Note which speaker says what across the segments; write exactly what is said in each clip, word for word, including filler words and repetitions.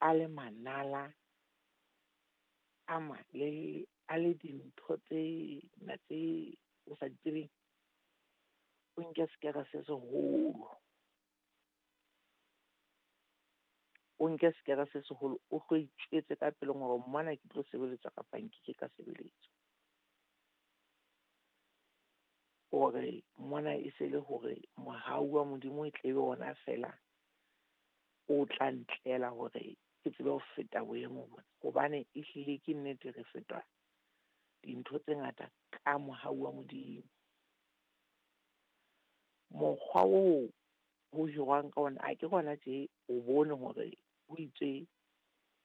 Speaker 1: A le manala a malelele, a le dintho tse na tse o sa di tsebeng. O nke sekere se seholo, o nke sekere se seholo, o tlo itjwetse ka pelong hore mona ke tlo sebeletswa kapa nkeke ka sebeletswa. Hore mona e se le hore mohau wa Modimo e tle be ona feela o tla ntlela hore ke tsebe ho feta boemo bona. Hobane ehlile ke nnete re fetwa dintho tse ngata ka mohau wa Modimo. Mokgwa oo ho hirwang ka ona, a ke hona tje o bone hore ho itswe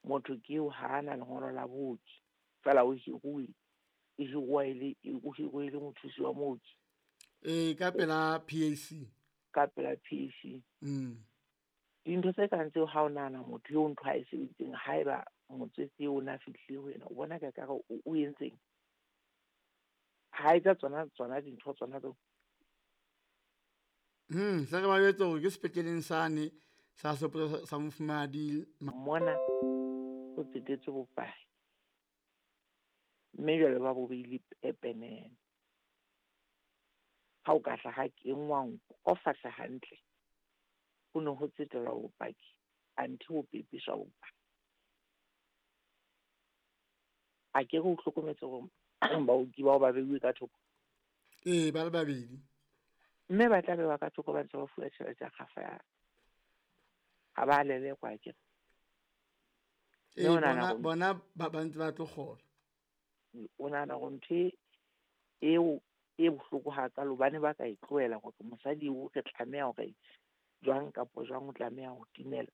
Speaker 1: motho ke eo ha ana lengolo la booki, feela o hiruwe, e hiruwa e le, o hiruwe e le mothusi wa mooki.
Speaker 2: Ee, ka pela P A C.
Speaker 1: Ka pela P A C.
Speaker 2: Mm.
Speaker 1: Dintho tse kang tseo ha o nahana motho eo ntho a e sebeditseng, haeba motswetse eo o na fihlile ho yena, o bona ka ekare o, o entseng? Ha etsa tsona, tsona dintho tsona tseo.
Speaker 2: Hmm, se re ba jwetse hore ke sepetleleng sane sa Sehopotso sa Mofumahadi.
Speaker 1: Mona ho tsetetswe bopaki. Mme jwale ba bo beile pepenene. Ha o ka hla ha kenngwa nko fahla hantle, ho ne ho tsetelwa bopaki, anthe ho pepeswa bopaki. A ke re o hlokometse hore baoki bao ba beuwe ka thoko?
Speaker 2: Ee, ba le babedi.
Speaker 1: Mme ba tla bewa ka thoko ba ntse ba fuwa tjhelete ya kgafa ya. Ha ba lelekwa akere.
Speaker 2: Ee,
Speaker 1: Mme o nahana
Speaker 2: bona,
Speaker 1: hore
Speaker 2: bona ba, ba ntse ba tlo kgola.
Speaker 1: O nahana hore ntho e, eo e bohloko hakalo, hobane ba ka e tlohela hore mosadi o re tlameha hore jwang kapa jwang o tlameha ho timela.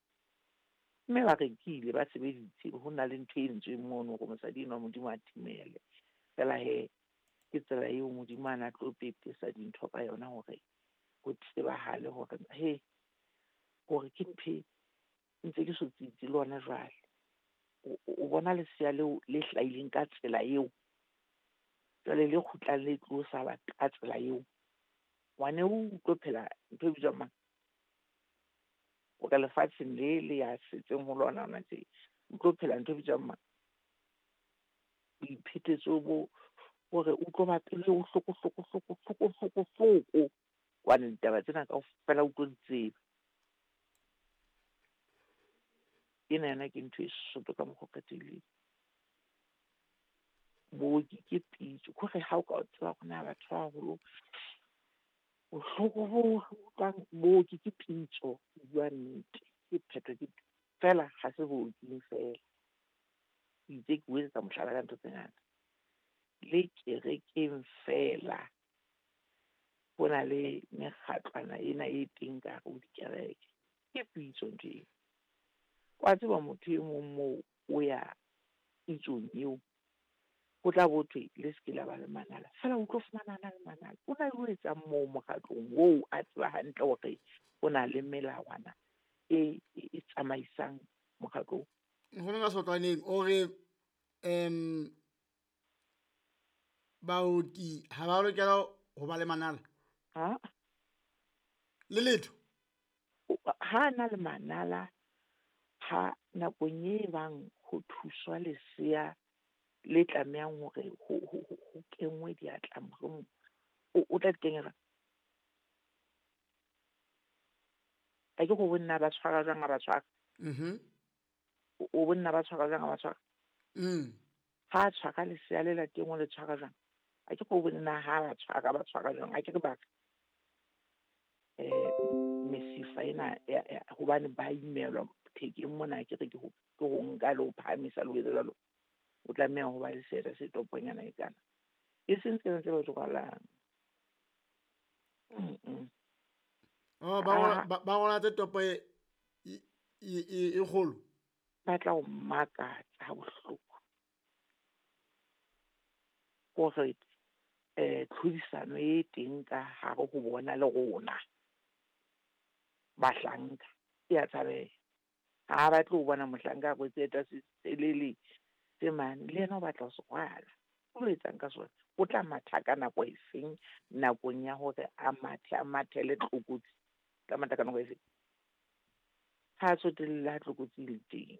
Speaker 1: Mme ba rekile, ba sebeditse, ho na le ntho e entsweng mono hore mosadi enwa Modimo a timele. Feela he, ke tsela eo Modimo a na tlo pepesa dintho ka yona hore ho tsebahale hore he, hore ke ntho e ntse ke so tsitsi le hona jwale. O, o, o bona lesea leo le hlahileng ka tsela eo, jwale le kgutlang le tlo sala ka tsela eo. Ngwane o tlo phela ntho e bitswang mang? O ka lefatsheng le le ya setseng ho lona hona tje, o tlo phela ntho e bitswang mang? Boiphetetso bo hore o tlo ba pelo e bohloko, hloko, hloko, hloko, hloko, hloko. Hobane ditaba tsena kaofela o tlo di tseba. Ena yona ke ntho e soto ka mokgwa o kgethehileng. Booki ke pitso. Ke hore ha o ka o tseba hore na batho ba baholo bohloko bo utlwang, booki ke pitso, ho bua nnete. Ke phetho ke feela, ha se booking feela. Ke itse ke o etsetsa mohlala ka ntho tse ngata. Le kerekeng feela, ho na le mekgatlwana ena e teng ka hare ho dikereke. Ke pitso ntho eo. Wa tseba motho e mong moo o ya pitsong eo, ho tla bo thwe le se ke la ba le manala. Feela o tlo fumana a na le manala. O na le ho etsang moo mokgatlong oo a tseba hantle hore o na le melawana e, e, e tsamaisang mokgatlo oo.
Speaker 2: Nkgono ka Sotlwaneng o re, em, baoki ha ba lokela ho ba le manala?
Speaker 1: Ha?
Speaker 2: Le letho?
Speaker 1: O, ha na le manala, ha nakong e bang ho thuswa lesea le tlamehang hore ho, ho, ho, ho kenngwe diatla mohlomong, o, o tla di kenya jwang? A ke go bonna ba tshwara jwang ha ba tshwara?
Speaker 2: Mhm.
Speaker 1: O, o bonna ba tshwara jwang ha ba tshwara?
Speaker 2: Mm.
Speaker 1: Ha a tshwara lesea le lateng o le tshwara jwang? A ke go bonna ha ba tshwara, ba tshwara jwang? A ke re ba re, eh, mesifa ena ya, ya, hobane ba imelwa thekeng mona, ke re ke ho, ke ho nka le ho phahamisa le ho etsa jwalo. O tlameha ho ba le seeta se toponyana e kana. E seng tsena tse ba di rwalang. Mm-mm.
Speaker 2: Oh, ba rwala,
Speaker 1: Ah.
Speaker 2: ba, ba rwala tse topo e, e, e, e, e kgolo.
Speaker 1: Ba tla o makatsa ha bohloko. Hore, eh, tlhodisano e teng ka hare ho bona le rona bahlanka e a tshabeha. Ha ba tlo bona mohlanka a rwetse eta se selele se mane, le yena o batla ho se rwala. O lo etsang ka sona? O tla matha ka nako e feng nakong ya hore a mathe, a mathele tlokotsi? O tla matha ka nako e feng? Ha a tsotelle ha tlokotsi e le teng.